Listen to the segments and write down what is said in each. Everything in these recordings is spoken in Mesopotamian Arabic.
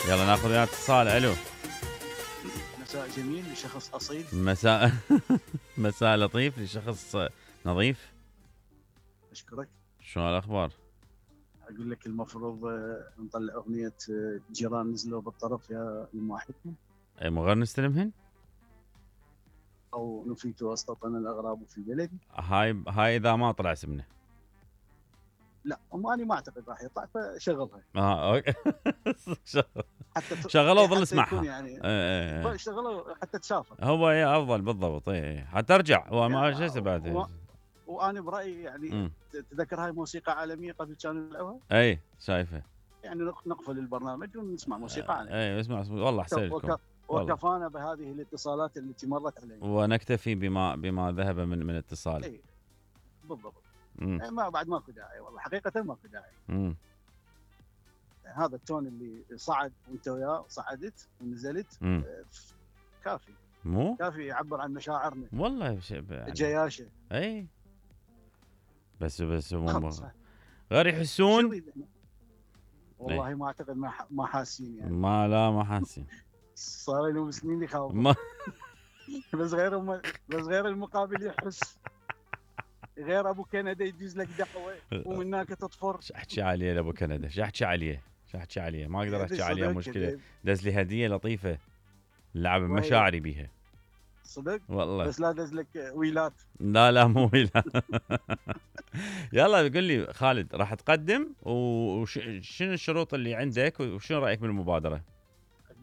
يلا ناخذ وياه اتصال. الو. مساء جميل لشخص اصيل. مساء مساء لطيف لشخص نظيف. اشكرك. شو الاخبار؟ اقول لك المفروض نطلع اغنيه جيران نزلوا بالطرف يا المواحدكم، اي مو غير نستلمهن؟ او نفيت واسطتنا الاغراب في بلدي. هاي اذا ما طلع اسمنا. لا انا ما اعتقد راح يطلع، فشغلها. اوكي. حتى شغلوه ظل اسمعها يعني ايه. شغلوه حتى تسافر. هو افضل بالضبط. اي حتى ارجع هو ما شو بعد. وانا برايي يعني تذكر هاي موسيقى عالميه قبل كانوا يلعبوها. اي شايفه. يعني نقفل البرنامج ونسمع موسيقى عالميه. اي اسمع والله احسن لكم. وكفانا بهذه الاتصالات التي مرت علينا، ونكتفي بما ذهب من اتصال. اي بالضبط. ما بعد ماكو داعي، والله حقيقه ماكو داعي. هذا التون اللي صعد وانت وياه صعدت ونزلت كافي. مو كافي يعبر عن مشاعرنا والله يعني جياشه. اي بس غير يحسون. والله ما اعتقد ما حاسين يعني. ما حاسين. صار لهم سنين يخاف. بس غير المقابل يحس. غير ابو كندا يدز لك دعوه ومن هناك تطفر. شو احكي عليه لابو كندا؟ شو احكي عليه؟ ما اقدر احكي عليه. مشكله دز لي هديه لطيفه لعب مشاعري بيها صدق والله. بس لا دز لك ويلات. لا مو ويلات. يلا قل لي خالد، راح تقدم وشنو الشروط اللي عندك وشنو رايك بالمبادره؟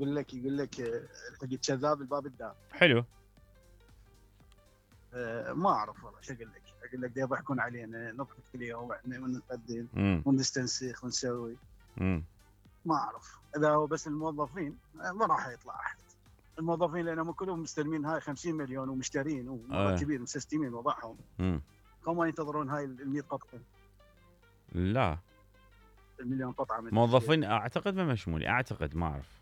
يقول لك الحق كذاب الباب الدار. حلو. ما اعرف والله شو اقول لك دا يضحكون علينا نضحك اليوم ونقدم ونستنسخ ونسوي. ما اعرف اذا هو بس الموظفين ما راح يطلع احد. الموظفين لانهم كلهم مستلمين هاي 50 مليون ومشترين ومرتبين مسستمين وضعهم. هم ينتظرون هاي ال 100 قطعه. لا المليون قطعه موظفين اعتقد ما مشمولين. ما اعرف.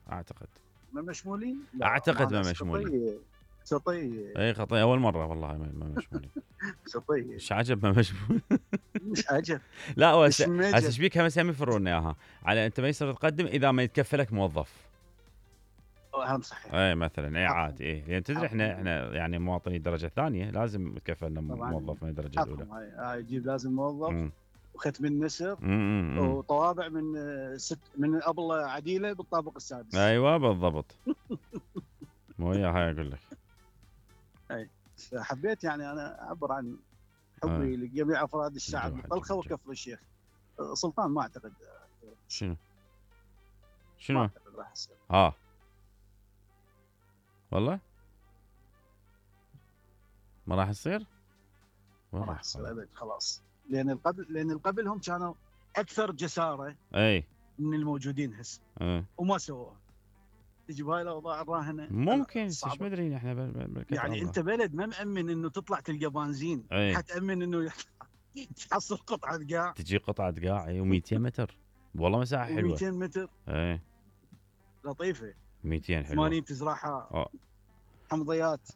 ما مشمولين؟ اعتقد ما مشمولين. شطيه. اي خطيه اول مره والله ما مشمولين. شطيه. مش عجب ما مشمول. مش عجب. لا هسه ايش بيك هم يفرون اياها على انت ما يصير تقدم اذا ما يتكفلك موظف. اهم صحيح. اي مثلا اي عادي. اي يعني تدري احنا يعني مواطني درجه ثانيه لازم يتكفلنا موظف من الدرجه الاولى. هاي يجيب لازم موظف وختم النسر وطوابع من ابله عديله بالطابق السادس. ايوه بالضبط. مو هاي اقول لك. اي حبيت يعني انا اعبر عن حبي لجميع افراد الشعب من طلخه وكفر الشيخ. سلطان ما اعتقد. شنو؟ ما اعتقد راح يصير. والله ما راح يصير. ما راح يصير ابد خلاص. لان القبل هم كانوا اكثر جساره من الموجودين هسه وما سووها. تجي بهاي الاوضاع الراهنه ممكن ايش مدري احنا يعني الله. انت بلد ما مأمن انه تطلع تلقى بنزين. حتأمن انه تحصل قطعه قاع. تجي قطعه قاع و200 متر والله مساحه حلوه. 200 متر لطيفه. 200 حلوه. 80 تزرعها حمضيات.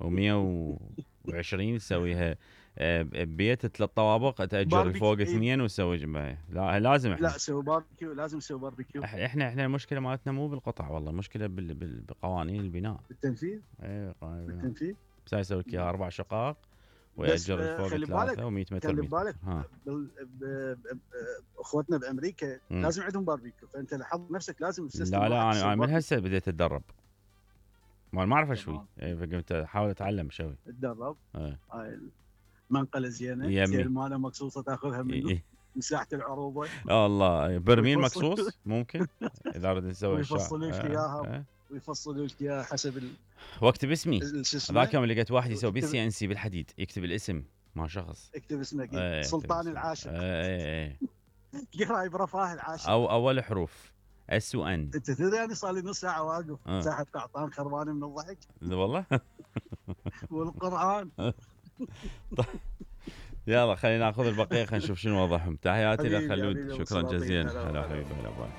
و120 تسويها ببيت 3 طوابق تأجر فوق 2 وتسوي جنبها. لا لازم لا سوي باربيكيو. لازم نسوي باربيكيو. احنا المشكله مالتنا مو بالقطع والله. المشكله بقوانين البناء. بالتنفيذ. بالتنفيذ. بس يسوي لك اياها 4 شقق ويأجر فوق 3 و100 متر. خلي بالك اخوتنا بامريكا لازم عندهم باربيكيو. فانت لاحظ نفسك لازم تستخدم. لا انا من هسه بديت اتدرب. ما اعرف شوي. فقمت احاول اتعلم شوي. اتدرب. هاي منقله زينه. زين ماله مقصوصه تاخذها منه. مساحه العروبه. الله برميل مقصوص ممكن اذا ردت نسوي ويفصلوا لك اياها. ويفصلوا لك اياها حسب واكتب اسمي. ذاك يوم لقيت واحد يسوي بالCNC بالحديد يكتب الاسم ما شخص. اكتب اسمك. سلطان العاشر. قرايب رفاه العاشر. او اول حروف S و N. انت تدري يعني صار لي نص ساعه واقف ساحه قعطان خربانه من الضحك. والله. والقران. يلا خلينا ناخذ البقيه خلينا نشوف شنو وضعهم. تحياتي لخلود. شكرا جزيلا. هلا حبيبي. هلا باي.